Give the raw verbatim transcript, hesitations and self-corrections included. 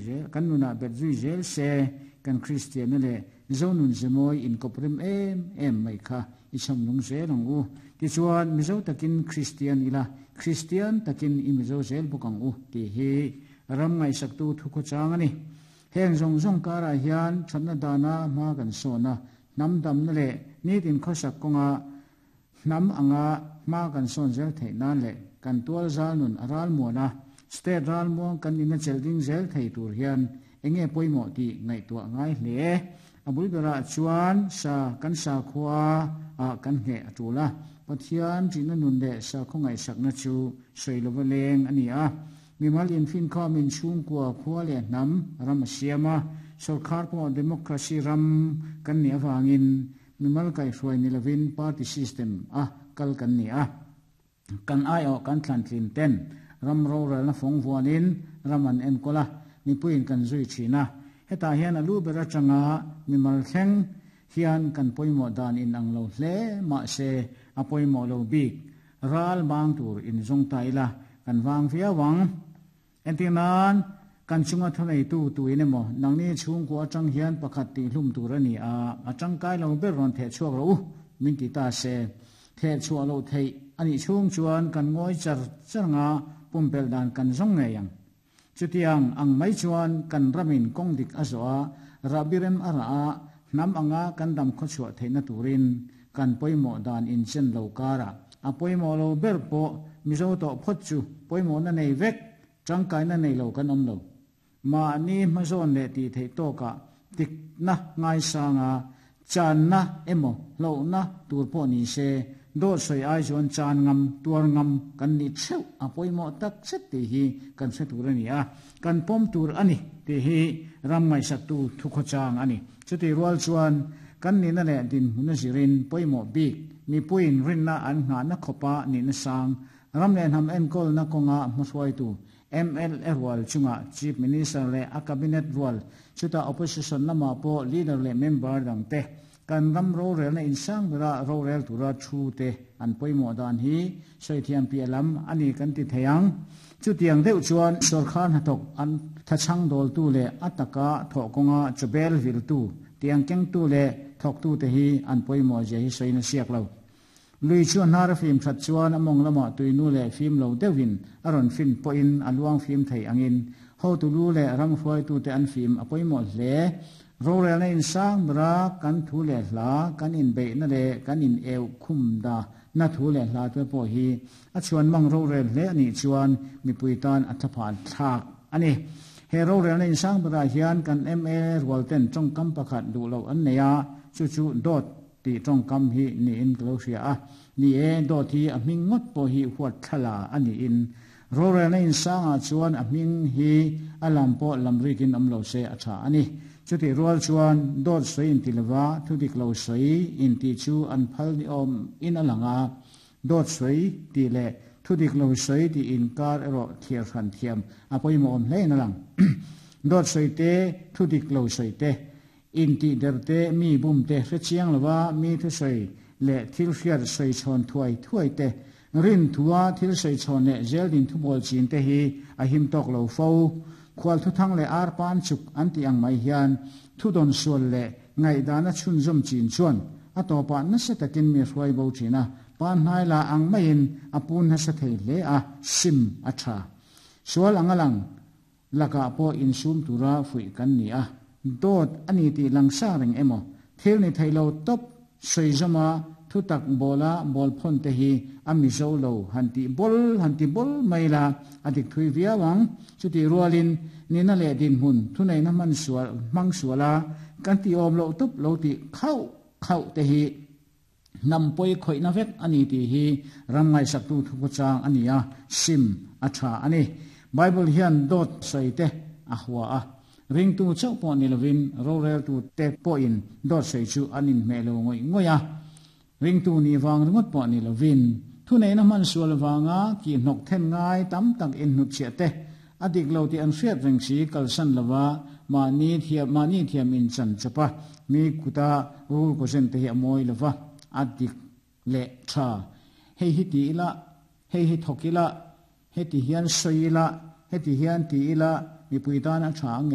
zel kan nunah bet zui zel se kan Kristianna leh Mizo nun zemawi inkawp rem em em mai kha i chhawm nung zel ang u. Tichuan, Mizo takin Kristian ila, Kristian takin i Mizo zel bawk ang u tih hi ram ngaihsaktu thukhawchang a ni. Heng zawng zawng karah hian thatna dana hma kan sawn a, hnam damna leh nitin khawsak kawnga hnam anga hma kan sawn zel theih nan leh kan tual zal nun a ralmuan a, state ralmuang kan ina chelh ding zel thei tur hian enge pawimawh tih ngaihtuah ngai hle. A bul berah chuan sa kan sakhua ah kan ngheh a tul a, Pathian ṭihna nun leh sakhaw ngaihsakna chu sawi lova leng a ni a. Mimal infinkhawmin chhungkua khua leh hnam ram a siam a, sorkar pawh democracy ram kan nih avangin mimal kaihhruai ni lovin party system a kal kan ni a. Kan aiawh kan thlantlin ten ram rorelna fawng vuanin ram an enkawl a, mipuiin kan zui thin a. Hetah hian a lu ber atanga mimal thleng hian kan pawimawh dan inang lo hle mahse a pawimawh lo bik ral bang tur inzawng ta ila kan vang viau ang. Entir nan, kan chunga thuneitu tuin emaw nangni chhungkua atang hian pakhat tihhlum tur a ni a, a tangkai lo ber rawn theh chhuak rawh u, min ti ta se. Theh chhuah loh theih a nih chhung chuan kan ngawi char char anga pumpelh dan kan zawng ngei ang. Chutiang ang mai chuan kan ramin kawng dik a zawh a, rahbi rem a rah a, hnam anga kan dam khawchhuah theihna turin kan pawimawh dan inchen lo karah a pawimawh lo ber pawh Mizo tawh phawt chu pawimawhna nei vek, tangkaina nei lo kan awm lo. Mahni hmazawn leh tih theih tawkah dikna ngaisanga channa emaw hlauhna tur pawh ni se, dawt sawi ai chuan chan ngam, tuar ngam kan nih theuh a pawimawh tak zet tih hi kan hre tur a ni a, kan pawm tur a ni tih hi ram ngaihsaktu thukhawchang a ni. Chutih rual chuan kan nihna leh dinhmun a zirin pawimawh bik mipuiin rinna an nghahna khawpa nihna sang ram leh hnam enkawlna kawnga hmahruaitu M L A rual chungah Chief Minister leh a Cabinet rual, chutah Opposition lamah pawh Leader leh Member dangte kan ram rorelna insang bera rorel tura thu te an pawimawh dan hi sawi thiam piah lam a ni kan ti thei ang. Chutiang deuh chuan sorkar hnathawk an thachhang dawltu leh a taka thawh kawnga chawbel viltu, tiang kengtu leh thawktute hi an pawimawh zia hi sawiin a siak lo. Lui chu a hnar a fim that chuan a mawng lamah tuinu leh fim lo deuhin a rawn fin pawhin a luang fim thei angin hotu lu leh ram hruaitute an fim a pawimawh hle. Rorelna insang bera kan thu leh hla, kan inbeihna leh kan in eu khum da na thu leh hla te pawh hi a chhuan mang rorel hle a nih chuan mipui tan a thlaphan thlak a ni. He rorelna insang berah hian kan M L A rualten tawngkam pakhat duh loh an nei a, chu chu dawt tih tawngkam hi niin ka lo hria a. Ni e, dawt hi a hming ngawt pawh hi huat thlala a niin rorelna insangah chuan a hming hi a lam pawh lam rikin awm lo se a tha a ni. Chutih rual chuan dawt sawi inti lova thu dik lo sawi intih chu an phal ni awm in a lang a, dawt sawi tih leh thu dik lo sawi tih inkar erawh thliar hran thiam a pawimawh awm hle in a lang. Dawt sawi te, thu dik lo sawi te, intih der te, mi bum te hrechiang lova mi thusawi leh thil hriat sawi chhawn thuai thuai te, rin thua thil sawi chhawn leh zel din thubawl chin te hi a him tawk lo fo. Khual thuthang leh arpan chuk an tih ang mai hian thu dawn sual leh ngaihdana chhunzawm chin chuan a tawpah nasa takin mi hruai bo thin a, pan hnai la ang maiin a pun nasa thei hle a, sim a tha. Sual anga lang lakah pawh insum tura fuih kan ni a, dawt a ni tih langsa reng emaw thil ni thei lo tawp sawi zawma thutak bawla bawl phawn te hi a Mizo lo han tih bawl han ti bawl mai la a dik thui viau ang. Chutih rualin nihna leh dinhmun thuneihna hman sual hmang suala kan tih awm loh tawp lo tih khauh khauh te hi hnam pawi khawihna vek a ni tih hi ram ngaihsaktu thukhawchang a ni a, sim a tha a ni. Bible hian dawt sawi te a hua a, ringtu chauh pawh ni lovin roreltu te pawhin dawt sawi chu an inhmeh lo ngawih ngawih a, ringtu nih vang ringawt pawh ni lovin thuneihna hman sual vanga kih hnawk then ngai tam tak inhnutchhiah te a dik lo tih an hriat reng si kalsan lova mahni thiam mahni thiam inchan chawp a, mi kuta rul kaw zen te hi a mawi lova, a dik leh tha hei hi ti ila, hei hi thawk ila, heti hian sawi ila, heti hian ti ila mipui tan a tha ang